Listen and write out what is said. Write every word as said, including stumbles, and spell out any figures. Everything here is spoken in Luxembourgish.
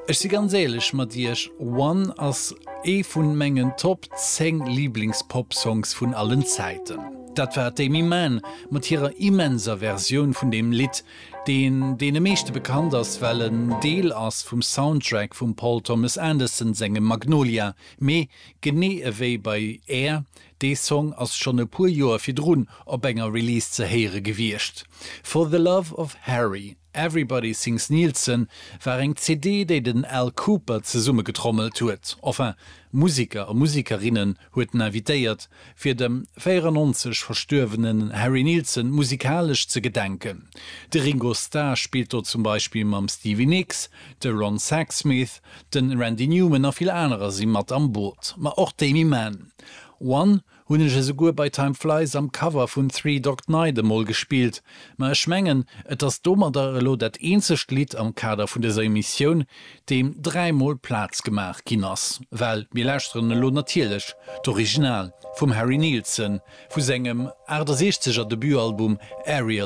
Ech si ganz éierlech mat iech, One ass ee vun mengen Top zéng Liiblings-Pop-Songs vun allen Zäiten. Dat war d'Aimee Mann mat hirer immenser Versioun vun deem Lidd, deen deene meeschte bekannt ass, well en Deel ass vum Soundtrack vum Paul Thomas Anderson sengem Magnolia. Mee genee ewéi bei Air, dee Song ass schonn e puer Joer virdrun op enger Release ze héiere gewiescht. For the Love of Harry, Everybody Sings Nilsson war eng C D, déi den Al Kooper zesummegetrommelt huet. Enfin, Museker a Musekerinnen huet en invitéiert, fir dem véierennonzeg verstuerwenen Harry Nilsson musikalesch ze gedenken. De Ringo Starr spillt do zum Beispill mam Stevie Nicks, de Ron Sexsmith, de Randy Newman a vill anerer si mat am Boot, ma och d'Aimee Mann. One hunn ech esouguer bei Time Flies am Cover vun Three Dog Night emol gespillt, ma ech mengen, et ass domadder elo dat eenzegt Lidd am Kader vun dëser Emissioun, deem dräimol Plaz gemaach ginn ass, well mir lauschteren elo natierlech d'Original vum Harry Nilsson vu sengem aachtesechzeger Debutalbum Aerial.